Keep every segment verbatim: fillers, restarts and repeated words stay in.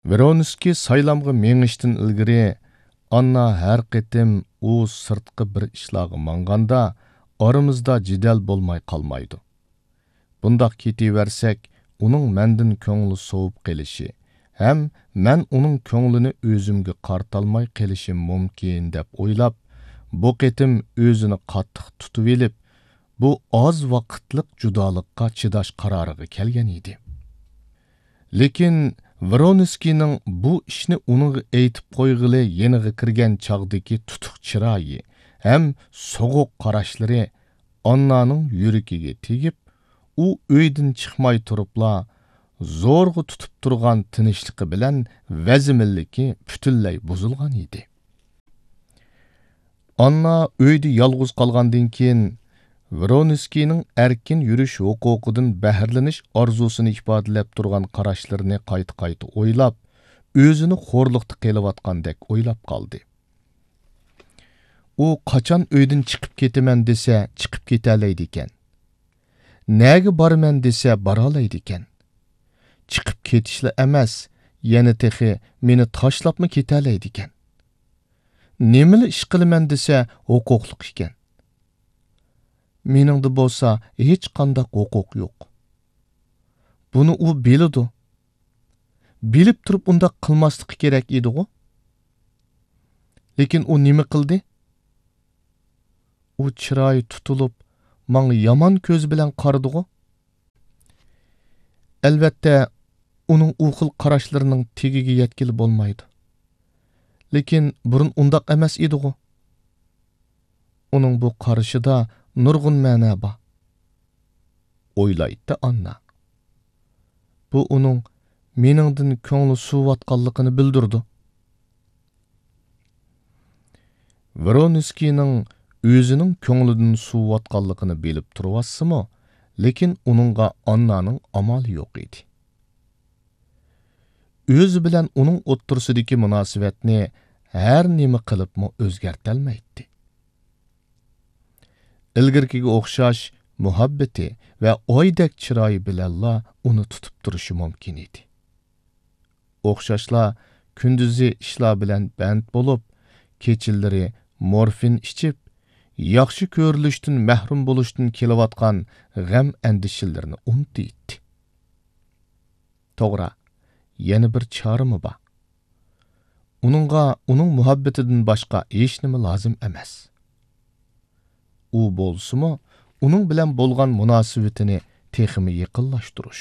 ۋرونسكىي سايلامغا مېڭىشتىن ئىلگىرى، ئاننا ھەر قېتىم ئۇ سىرتقا بىر ئىشلارغا ماڭغاندا، ئارىمىزدا جېدەل بولماي قالمايدۇ. بۇنداق كېتىۋەرسەك، ئۇنىڭ مەندىن كۆڭلى سوۋۇپ قېلىشى ھەم مەن ئۇنىڭ كۆڭلىنى ئۆزۈمگە قارىتالماي قېلىشىم مۇمكىن، دەپ ئويلاپ، بۇ قېتىم ئۆزىنى قاتتىق تۇتۇۋېلىپ، بۇ ئاز ۋاقىتلىق جۇدالىققا چىداش قارارىغا كەلگەن ئىدى. لېكىن ۋرونسكىينىڭ بۇ ئىشنى ئۇنىڭغا ئېيتىپ قويغىلى يېنىغا كىرگەن چاغدىكى تۇتۇق چىرايى ھەم سوغۇق قاراشلىرى ئاننانىڭ يۈرىكىگە تېگىپ، ئۇ ئۆيدىن چىقماي تۇرۇپلا، زورغا تۇتۇپ تۇرغان تىنچلىقى بىلەن ۋەزمىنلىكى پۈتۈنلەي بۇزۇلغان ئىدى. ئاننا ئۆيدە يالغۇز قالغاندىن كېيىن، ۋرونسكىينىڭ ئەركىن يۈرۈش ھوقۇقىدىن بەھرىلىنىش ئارزۇسىنى ئىپادىلەپ تۇرغان قاراشلىرىنى قايتا-قايتا ئويلاپ، ئۆزىنى خورلۇقتا قېلىۋاتقاندەك ئويلاپ قالدى. ئۇ قاچان ئۆيدىن چىقىپ كېتىمەن دېسە، چىقىپ كېتەلەيدىكەن. نەگە بارىمەن دېسە، بارالايدىكەن. چىقىپ كېتىشلا ئەمەس، يەنە تېخى مېنى تاشلاپمۇ كېتەلەيدىكەن. نېمىلا ئىش قىلىمەن دېسە، ھوقۇقلۇق ئىكەن. مېنىڭدە بولسا ھېچقانداق ھوقۇق يوق. بۇنى ئۇ بىلىدۇ. بىلىپ تۇرۇپ ئۇنداق قىلماسلىقى كېرەك ئىدىغۇ؟ لېكىن ئۇ نېمە قىلدى؟ ئۇ چىرايى تۇتۇلۇپ، ماڭا يامان كۆزى بىلەن قارىدىغۇ؟ ئەلۋەتتە، ئۇنىڭ ئۇ خىل قاراشلىرىنىڭ تېگىگە يەتكىلى بولمايدۇ. لېكىن بۇرۇن ئۇنداق ئەمەس ئىدىغۇ؟ ئۇنىڭ بۇ قارىشىدا نۇرغۇن مەنە بار، ئويلايتتى ئاننا. بۇ ئۇنىڭ مېنىڭدىن كۆڭلى سۇۋۇۋاتقانلىقىنى بىلدۈرىدۇ. ۋرونسكىينىڭ ئۆزىنىڭ كۆڭلىدىن سۇۋۇۋاتقانلىقىنى بىلىپ تۇرۇۋاتسىمۇ، لېكىن ئۇنىڭغا ئاننانىڭ ئامالى يوق ئىدى. ئۆزى بىلەن ئۇنىڭ ئوتتۇرىسىدىكى مۇناسىۋەتنى ھەر نېمە قىلىپمۇ ئۆزگەرتەلمەيتتى. ئىلگىرىكىگە ئوخشاش مۇھەببىتى ۋە ئايدەك چىرايى بىلەنلا ئۇنى تۇتۇپ تۇرۇشى مۇمكىن ئىدى. ئوخشاشلا كۈندۈزى ئىشلار بىلەن بەند بولۇپ، كېچىلىرى مورفىن ئىچىپ، ياخشى كۆرۈلۈشتىن مەھرۇم بولۇشتىن كېلىۋاتقان غەم-ئەندىشىلىرىنى ئۇنتۇيتتى. توغرا، يەنە بىر چارىمۇ بار. ئۇنىڭغا ئۇنىڭ مۇھەببىتىدىن باشقا ھېچنېمە لازىم ئەمەس. ئۇ بولسىمۇ، ئۇنىڭ بىلەن بولغان مۇناسىۋىتىنى تېخىمۇ يېقىنلاشتۇرۇش،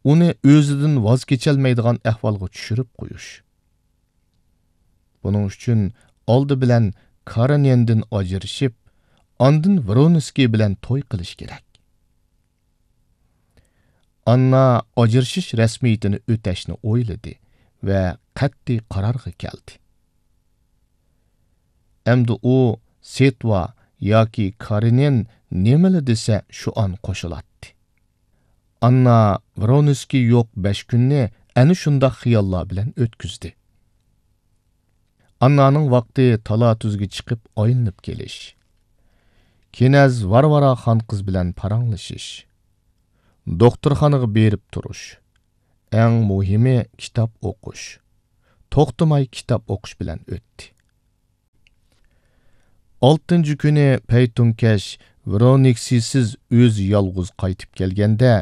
ئۇنى ئۆزىدىن ۋاز كېچەلمەيدىغان ئەھۋالغا چۈشۈرۈپ قويۇش. بۇنىڭ ئۈچۈن ئالدى بىلەن كارېنىندىن ئاجرىشىپ، ئاندىن ۋرونسكىي بىلەن توي قىلىش كېرەك. ئاننا ئاجرىشىش رەسمىيىتىنى ئۆتەشنى ئويلىدى ۋە قەتئىي قارارغا كەلدى. ئەمدى ئۇ سېتۋا ياكى كارېنىن نېمىلا دېسە، شۇ ئان قوشۇلاتتى. ئاننا ۋرونسكىي يوق بەش كۈننى ئەنە شۇنداق خىياللار بىلەن ئۆتكۈزدى. ئاننانىڭ ۋاقتى تالا-تۈزگە چىقىپ ئايلىنىپ كېلىش، كېنەز ۋارۋارا خانقىز بىلەن پاراڭلىشىش، دوختۇرخانىغا بېرىپ تۇرۇش، ئەڭ مۇھىمى كىتاب ئوقۇش، توختىماي كىتاب ئوقۇش بىلەن ئۆتتى. ئالتىنچى كۈنى پەيتۇنكەش ۋرونسكىيسىز ئۆزى يالغۇز قايتىپ كەلگەندە،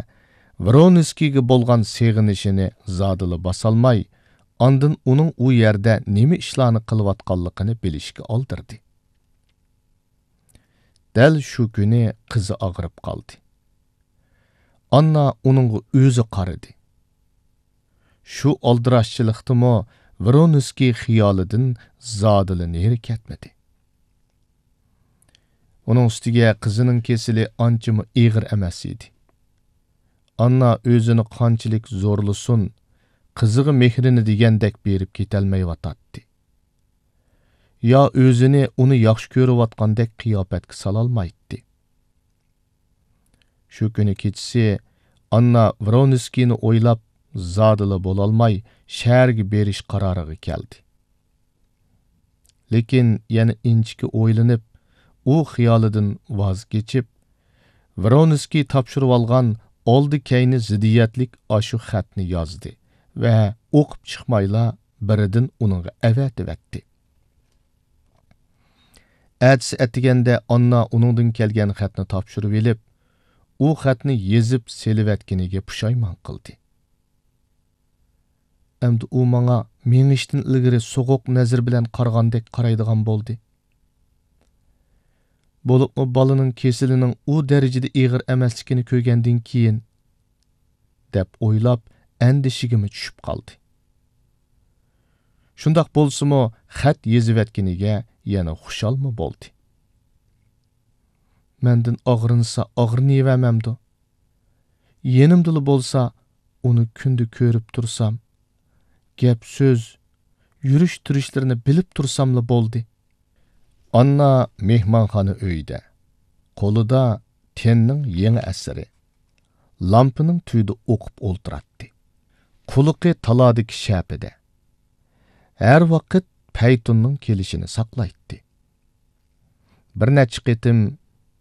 ۋرونسكىيگە بولغان سېغىنىشىنى زادىلا باسالماي، ئاندىن ئۇنىڭ ئۇ يەردە نېمە ئىشلارنى قىلىۋاتقانلىقىنى بىلىشكە ئالدىردى. دەل شۇ كۈنى قىزى ئاغرىپ قالدى. ئاننا ئۇنىڭغا ئۆزى قارىدى. شۇ ئالدىراشچىلىقتىمۇ ۋرونسكىي خىيالىدىن زادىلا نېرى كەتمىدى. ئۇنىڭ ئۈستىگە قىزىنىڭ كېسىلى ئانچىمۇ ئېغىر ئەمەس ئىدى. ئاننا ئۆزىنى قانچىلىك زورلىسۇن، قىزىغا مېھرىنى دېگەندەك بېرىپ كېتەلمەيۋاتاتتى. يا ئۆزىنى ئۇنى ياخشى كۆرۈۋاتقاندەك قىياپەتكە سالالمايتتى. شۇ كۈنى كېچىسى ئاننا ۋرونسكىينى ئويلاپ، زادىلا بولالماي، شەھەرگە بېرىش قارارىغا كەلدى. لېكىن يەنە ئىنچىكە ئويلىنىپ، ئۇ خىيالىدىن ۋاز كېچىپ، ۋرونسكىي تاپشۇرۇۋالغان ئالدى-كەينى زىددىيەتلىك ئاشۇ خەتنى يازدى ۋە ئوقۇپ چىقمايلا بىردىن ئۇنىڭغا ئەۋەتىۋەتتى. ئەتىسى ئەتىگەندە ئاننا ئۇنىڭدىن كەلگەن خەتنى تاپشۇرۇۋېلىپ، ئۇ خەتنى يېزىپ سېلىۋەتكىنىگە پۇشايمان قىلدى. ئەمدى ئۇ ماڭا مېڭىشتىن ئىلگىرى سوغۇق نەزىر بىلەن قارىغاندەك قارايدىغان بولدى. بولۇپمۇ بالىنىڭ كېسىلىنىڭ ئۇ دەرىجىدە ئېغىر ئەمەسلىكىنى كۆرگەندىن كېيىن، دەپ ئويلاپ، ئەندىشىگىمۇ چۈشۈپ قالدى. شۇنداق بولسىمۇ، خەت يېزىۋەتكىنىگە يەنە خۇشالمۇ بولدى. مەندىن ئاغرىنسا ئاغرىنىۋەرمەمدۇ؟ يېنىمدىلا بولسا، ئۇنى كۈندە كۆرۈپ تۇرسام، گەپ-سۆز، يۈرۈش-تۇرۇشلىرىنى بىلىپ تۇرساملا بولدى. ئاننا مېھمانخانا ئۆيىدە، قولىدا تېننىڭ يېڭى ئەسىرى، لامپىنىڭ تۈۋىدە ئوقۇپ ئولتۇراتتى. قۇلىقى تالادىكى شەپىدە. ھەر ۋاقىت پەيتۇننىڭ كېلىشىنى ساقلايتتى. بىر نەچچە قېتىم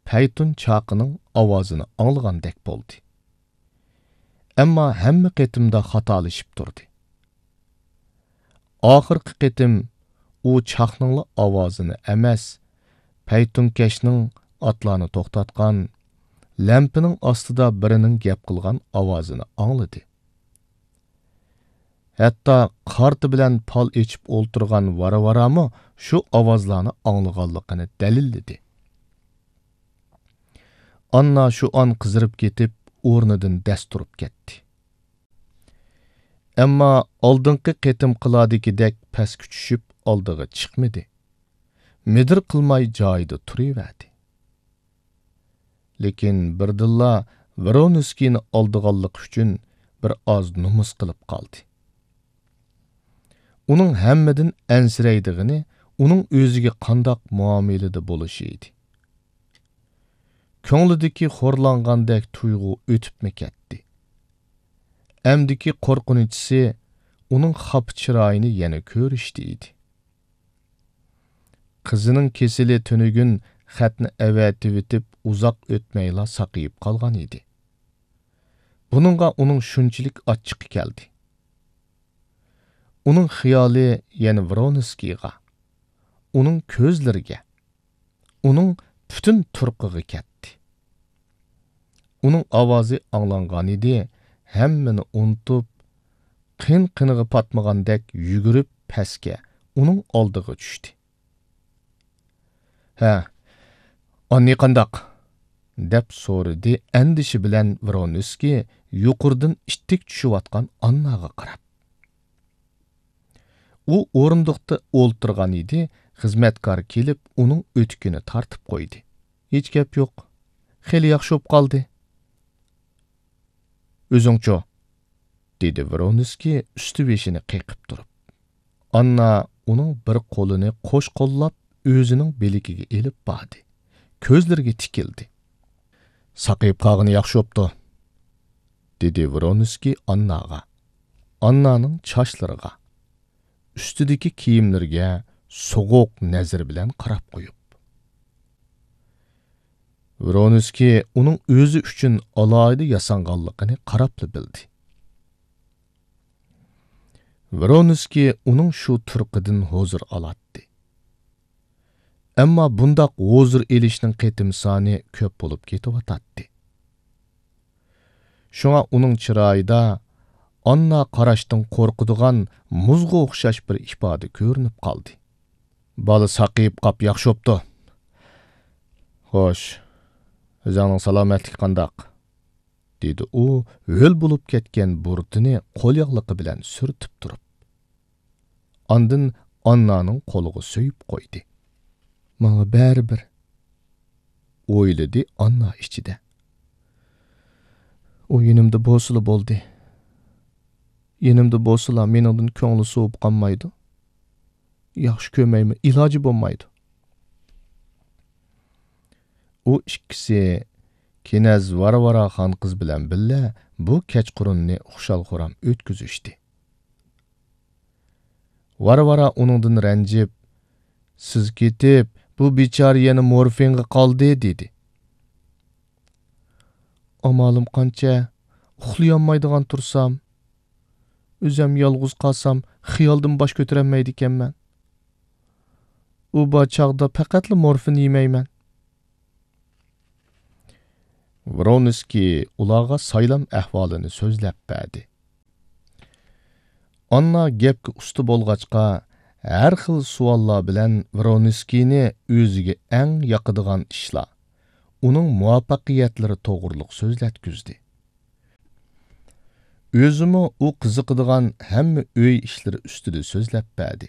پەيتۇن چاقىنىڭ ئاۋازىنى ئاڭلىغاندەك بولدى. ئەمما ھەممە قېتىمدا خاتالىشىپ تۇردى. ئاخىرقى قېتىم ئۇ چاقنىڭلا ئاۋازىنى ئەمەس، پەيتۇنكەشنىڭ ئاتلارنى توختاتقان، لەمپىنىڭ ئاستىدا بىرىنىڭ گەپ قىلغان ئاۋازىنى ئاڭلىدى. ھەتتا قارتا بىلەن پال ئېچىپ ئولتۇرغان ۋارا-ۋارامۇ شۇ ئاۋازلارنى ئاڭلىغانلىقىنى دەلىللىدى. ئاننا شۇ ئان قىزىرىپ كېتىپ، ئورنىدىن دەس تۇرۇپ كەتتى. ئەمما ئالدىنقى قېتىمقىلاردىكىدەك پەسكە چۈشۈپ ئالدىغا چىقمىدى. مىدىر قىلماي جايىدا تۇرۇۋەردى. لېكىن بىردىنلا ۋرونسكىينى ئالدىغانلىقى ئۈچۈن بىر ئاز نومۇس قىلىپ قالدى. ئۇنىڭ ھەممىدىن ئەنسىرەيدىغىنى ئۇنىڭ ئۆزىگە قانداق مۇئامىلىدە بولۇشى ئىدى. كۆڭلىدىكى خورلانغاندەك تۇيغۇ ئۆتۈپمۇ كەتتى. ئەمدىكى قورقۇنچىسى ئۇنىڭ خاپا چىرايىنى يەنە كۆرۈشتە ئىدى. قىزىنىڭ كېسىلى تۈنۈگۈن خەتنى ئەۋەتىۋېتىپ ئۇزاق ئۆتمەيلا ساقىيىپ قالغان ئىدى. بۇنىڭغا ئۇنىڭ شۇنچىلىك ئاچچىقى كەلدى. ئۇنىڭ خىيالى يەنە ۋرونسكىيغا، ئۇنىڭ كۆزلىرىگە، ئۇنىڭ پۈتۈن تۇرقىغا كەتتى. ئۇنىڭ ئاۋازى ئاڭلانغانىدى، ھەممىنى ئۇنتۇپ، قىن-قىنىغا پاتمىغاندەك يۈگۈرۈپ پەسكە، ئۇنىڭ ئالدىغا چۈشتى. «ھە، ئاننى قانداق؟» دەپ سورىدى ئەندىشە بىلەن ۋرونسكىي يۇقىرىدىن ئىتتىك چۈشۈۋاتقان ئانناغا قاراپ. ئۇ ئورۇندۇقتا ئولتۇرغان ئىدى، خىزمەتكار كېلىپ ئۇنىڭ ئۆتۈكىنى تارتىپ قويدى. «ھېچ گەپ يوق. خېلى ياخشى بولۇپ قالدى.» «ئۆزۈڭچۇ؟» دېدى ۋرونسكىي ئۈستى بېشىنى قېقىپ تۇرۇپ. ئاننا ئۇنىڭ بىر قولىنى قوش قوللاپ ئۆزىنىڭ بىلىكىگە ئېلىپ باردى. كۆزلىرىگە تىكىلدى. «ساقىيىپ قالغىنى ياخشى بوپتۇ»، دېدى ۋرونسكىي ئانناغا. ئاننانىڭ چاچلىرىغا، ئۈستىدىكى كىيىملىرىگە سوغۇق نەزىرى بىلەن قاراپ قويۇپ. ۋرونسكىي ئۇنىڭ ئۆزى ئۈچۈن ئالاھىدە ياسانغانلىقىنى قاراپلا بىلدى. ۋرونسكىي ئۇنىڭ شۇ تۇرقىدىن ھۇزۇر ئالاتتى. ئەمما بۇنداق ھۇزۇر ئېلىشنىڭ قېتىم سانى كۆپ بولۇپ كېتىۋاتاتتى. شۇڭا ئۇنىڭ چىرايىدا ئاننا قاراشتىن قورقىدىغان مۇزغا ئوخشاش بىر ئىپادە كۆرۈنۈپ قالدى. «بالا ساقىيىپ قاپ ياخشى بوپتۇ. خوش، ئۆزۈڭنىڭ سالامەتلىكى قانداق؟» دېدى ئۇ ھۆل بولۇپ كەتكەن بۇرۇتىنى قولياغلىقى بىلەن سۈرتۈپ تۇرۇپ. ئاندىن ئاننانىڭ قولىغا سۆيۈپ قويدى. «ماڭا بەرىبىر»، ئويلىدى ئاننا ئىچىدە. «ئۇ يېنىمدا بولسىلا بولدى. يېنىمدا بولسىلا مېنىڭدىن كۆڭلى سوۋۇپ قالمايدۇ. ياخشى كۆرمەيمۇ، ئىلاجى بولمايدۇ.» ئۇ ئىككىسى كېنەز ۋارۋارا خانقىز بىلەن بىللە بۇ كەچقۇرۇننى خۇشال-خۇرام ئۆتكۈزۈشتى. ۋارۋارا ئۇنىڭدىن رەنجىپ، «سىز كېتىپ، بۇ بىچارە يەنە مورفىنغا قالدى» دېدى. «ئامالىم قانچە؟ ئۇخلىيالمايدىغان تۇرسام، ئۆزەم يالغۇز قالسام، خىيالدىن باش كۆتۈرەلمەيدىكەنمەن. ئۇ بار چاغدا پەقەتلا مورفىن يېمەيمەن. ۋرونسكىي ئۇلارغا سايلام ئەھۋالىنى سۆزلەپ بەردى. ئاننا گەپكە ئۇستا بولغاچقا، ھەر خىل سوئاللار بىلەن ۋرونسكىينى ئۆزىگە ئەڭ ياقىدىغان ئىشلار، ئۇنىڭ مۇۋەپپەقىيەتلىرى توغرۇلۇق سۆزلەتكۈزدى. ئۆزىمۇ ئۇ قىزىقىدىغان ھەممە ئۆي ئىشلىرى ئۈستىدە سۆزلەپ بەردى.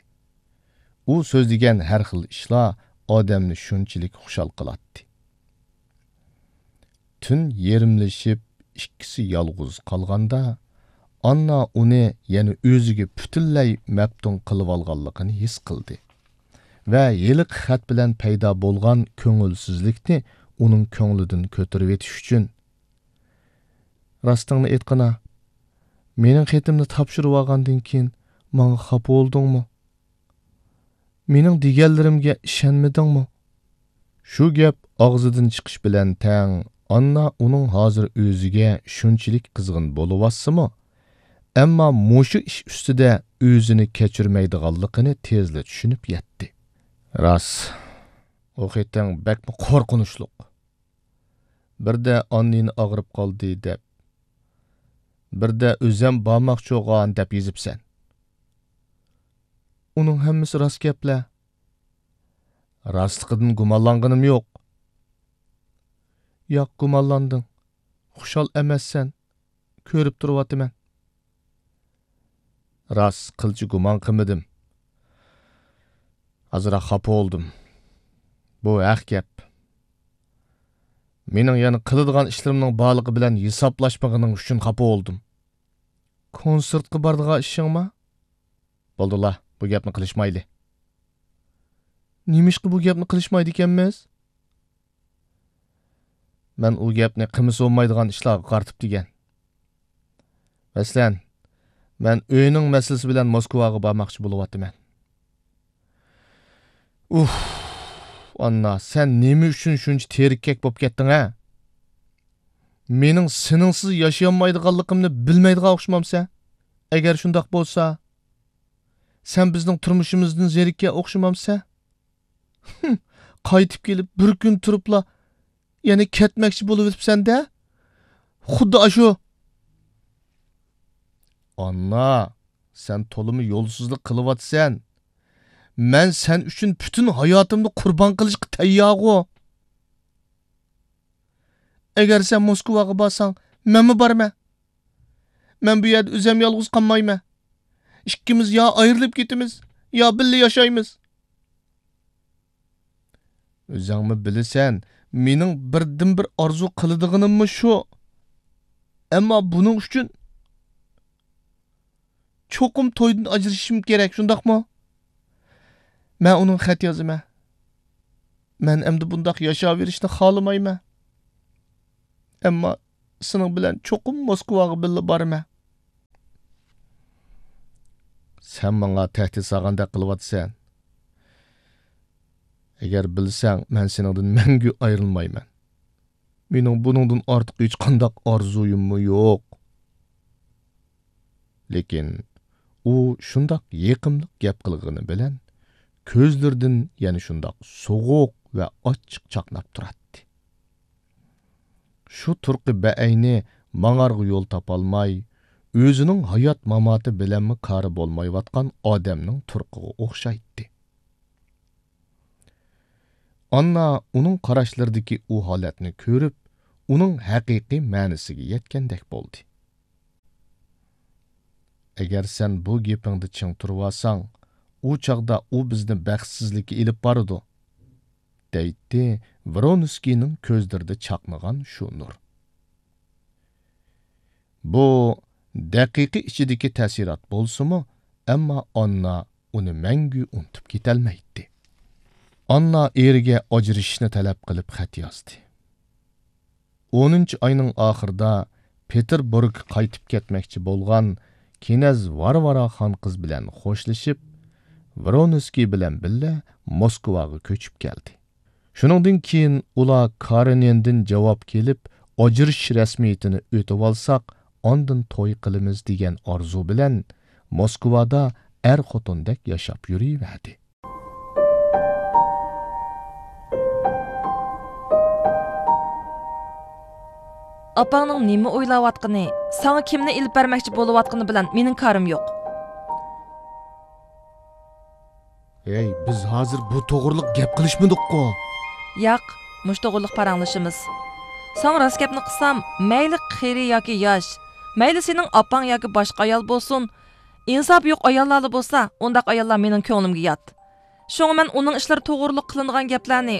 ئۇ سۆزلىگەن ھەر خىل ئىشلار ئادەمنى شۇنچىلىك خۇشال قىلاتتى. تۈن يېرىملىشىپ، ئىككىسى يالغۇز قالغاندا، ئاننا ئۇنى يەنە ئۆزىگە پۈتۈنلەي مەپتۇن قىلىۋالغانلىقىنى ھېس قىلدى ۋە ھېلىقى خەت بىلەن پەيدا بولغان كۆڭۈلسىزلىكنى ئۇنىڭ كۆڭلىدىن كۆتۈرۈۋېتىش ئۈچۈن، راستىڭنى ئېيتقىنا، مېنىڭ خېتىمنى تاپشۇرۇۋالغاندىن كېيىن ماڭا خاپا بولدۇڭمۇ؟ مېنىڭ دېگەنلىرىمگە ئىشەنمىدىڭمۇ؟ شۇ گەپ ئاغزىدىن چىقىش بىلەن تەڭ، ئاننا ئۇنىڭ ھازىر ئۆزىگە شۇنچىلىك قىزغىن بولۇۋاتسىمۇ، ئەمما مۇشۇ ئىش ئۈستىدە ئۆزىنى كەچۈرمەيدىغانلىقىنى تېزلا چۈشىنىپ يەتتى. راست، ئۇ خېتىڭ بەكمۇ قورقۇنچلۇق. بىردە ئاننىنى ئاغرىپ قالدى دەپ، بىردە ئۆزەم بارماقچىغان دەپ يېزىپسەن. ئۇنىڭ ھەممىسى راست گەپلەر. راستلىقىدىن گۇمانلانغىنىم يوق. ياق، گۇمانلاندىڭ. خۇشال ئەمەسسەن. كۆرۈپ تۇرۇۋاتىمەن. راست، قىلچە گۇمان قىلمىدىم. ئازراق خاپا بولدۇم. بۇ ھەق گەپ. مېنىڭ يەنە قىلىدىغان ئىشلىرىمنىڭ بارلىقى بىلەن ھېسابلاشمىغىنىڭ ئۈچۈن خاپا بولدۇم. كونسېرتقا بارىدىغان ئىشىڭما؟ بولدىلا، بۇ گەپنى قىلىشمايلى. نېمىشقا بۇ گەپنى قىلىشمايدىكەنمىز؟ مەن ئۇ گەپنى قىلمىسا بولمايدىغان ئىشلارغا قارىتىپ دېگەن. مەسىلەن، مەن ئۆينىڭ مەسىلىسى بىلەن موسكۋاغا بارماقچى بولۇۋاتىمەن. ئۇھ، ئاننا، سەن نېمە ئۈچۈن شۇنچە تېرىككەك بولۇپ كەتتىڭ، ھە؟ مېنىڭ سېنىڭسىز ياشىيالمايدىغانلىقىمنى بىلمەيدىغان ئوخشىمامسەن؟ ئەگەر شۇنداق بولسا، سەن بىزنىڭ تۇرمۇشىمىزدىن زېرىككەن ئوخشىمامسەن؟ ھىم، قايتىپ كېلىپ بىر كۈن تۇرۇپلا يەنە كەتمەكچى بولۇۋېتىپسەن-دە. خۇددى ئاشۇ. ئاننا، سەن تولىمۇ يولسىزلىق قىلىۋاتىسەن. مەن سەن ئۈچۈن پۈتۈن ھاياتىمنى قۇربان قىلىشقا تەييارغۇ. ئەگەر سەن موسكۋاغا بارساڭ، مەنمۇ بارىمەن. مەن بۇ يەردە ئۆزۈم يالغۇز قالمايمەن. ئىككىمىز يا ئايرىلىپ كېتىمىز، يا بىللە ياشايمىز. ئۆزۈڭمۇ بىلىسەن، مېنىڭ بىردىنبىر ئارزۇ قىلىدىغىنىممۇ شۇ. ئەمما بۇنىڭ ئۈچۈن چوقۇم تويدىن ئاجرىشىشىم كېرەك، شۇنداقمۇ؟ مەن ئۇنىڭغا خەت يازىمەن. مەن ئەمدى بۇنداق ياشاۋېرىشنى خالىمايمەن. ئەمما سېنىڭ بىلەن چوقۇم موسكۋاغا بىللە بارىمەن. سەن ماڭا تەھدىت سالغاندەك قىلىۋاتىسەن. ئەگەر بىلسەڭ، مەن سېنىڭدىن مەڭگۈ ئايرىلمايمەن. مېنىڭ بۇنىڭدىن ئارتۇق ھېچقانداق ئارزۇيۇممۇ يوق. لېكىن ئۇ شۇنداق يېقىملىق گەپ قىلغىنى بىلەن، كۆزلىرىدىن يەنە شۇنداق سوغۇق ۋە ئاچچىق چاقناپ تۇراتتى. شۇ تۇرقى بەئەينى ماڭارغا يول تاپالماي، ئۆزىنىڭ ھايات-ماماتى بىلەنمۇ كارى بولمايۋاتقان ئادەمنىڭ تۇرقىغا ئوخشايتتى. ئاننا ئۇنىڭ قاراشلىرىدىكى ئۇ ھالەتنى كۆرۈپ، ئۇنىڭ ھەقىقىي مەنىسىگە يەتكەندەك بولدى. ئەگەر سەن بۇ گېپىڭدە چىڭ تۇرۇۋالساڭ، ئۇ چاغدا ئۇ بىزنى بەختسىزلىككە ئېلىپ بارىدۇ، دەيتتى ۋرونسكىينىڭ كۆزلىرىدە چاقنىغان شۇ نۇر. بۇ دەقىقە ئىچىدىكى تەسىرات بولسىمۇ، ئەمما ئاننا ئۇنى مەڭگۈ ئۇنتۇپ كېتەلمەيتتى. ئاننا ئېرىگە ئاجرىشىشنى تەلەپ قىلىپ خەت يازدى. ئونىنچى ئاينىڭ ئاخىرىدا پېتېربۇرگقا قايتىپ كەتمەكچى بولغان كىنەز ۋارۋارا خانقىز بىلەن خوشلىشىپ، ۋرونسكىي بىلەن بىللە موسكۋاغا كۆچۈپ كەلدى. شۇنىڭدىن كېيىن ئۇلار كارېنىندىن جاۋاب كېلىپ، ئاجرىشىش رەسمىيىتىنى ئۆتۈۋالساق، ئاندىن توي قىلىمىز دېگەن ئارزۇ بىلەن موسكۋادا ئەر-خوتۇندەك ياشاپ يۈرۈۋەردى. ئاپاڭنىڭ نېمە ئويلاۋاتقىنى، ساڭا كىمنى ئېلىپ بەرمەكچى بولۇۋاتقىنى بىلەن مېنىڭ كارىم يوق. ھەي، بىز ھازىر بۇ توغرىلىق گەپ قىلىشمىدۇققۇ؟ ياق، مۇشۇ توغرىلىق پاراڭلىشىمىز. ساڭا راست گەپنى قىلسام، مەيلى قېرى ياكى ياش، مەيلى سېنىڭ ئاپاڭ ياكى باشقا ئايال بولسۇن، ئىنساپى يوق ئاياللارلا بولسا، ئۇنداق ئاياللار مېنىڭ كۆڭلۈمگە يات. شۇڭا مەن ئۇنىڭ ئىشلىرى توغرۇلۇق قىلىنغان گەپلەرنى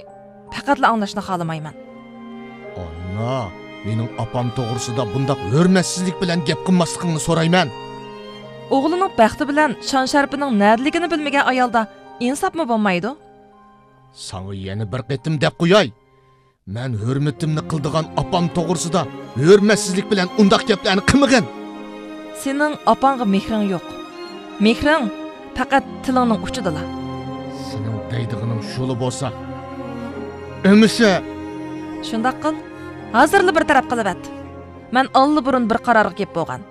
پەقەتلا ئاڭلاشنى خالىمايمەن. ئانا، مېنىڭ ئاپام توغرىسىدا بۇنداق ھۆرمەتسىزلىك بىلەن گەپ قىلماسلىقىڭنى سورايمەن. ئوغلىنىڭ بەختى بىلەن شان-شەرىپىنىڭ نەدىلىكىنى بىلمىگەن ئايالدا ئىنساپمۇ بولمايدۇ. ساڭا يەنە بىر قېتىم دەپ قوياي. مەن ھۆرمىتىمنى قىلىدىغان ئاپام توغرىسىدا ھۆرمەتسىزلىك بىلەن ئۇنداق گەپلەرنى قىلمىغىن. سېنىڭ ئاپاڭغا مېھرىڭ يوق. مېھرىڭ پەقەت تىلىڭنىڭ ئۇچىدىلا. سېنىڭ دەيدىغىنىڭ شۇلا بولسا، ئەمىسە. شۇنداق قىل. ھازىرلا بىر تەرەپ قىلىۋەت. مەن ئاللىبۇرۇن بىر قارارغا كېلىپ بولغان.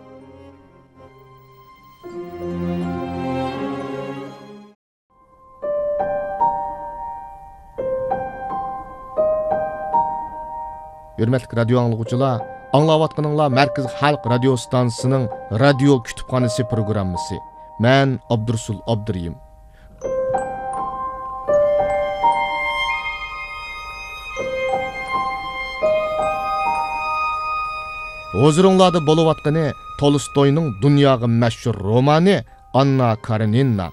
ھۆرمەتلىك رادىيو ئاڭلىغۇچىلار، ئاڭلاۋاتقىنىڭلار مەركىزىي خەلق رادىيو ئىستانسىسىنىڭ رادىيو كۇتۇپخانىسى پروگراممىسى. مەن ئابدۇرۇسۇل ئابدۇرېھىم. ھۇزۇرۇڭلاردا بولۇۋاتقىنى تولستوينىڭ دۇنياغا مەشھۇر رومانى ئاننا كارېنىنا.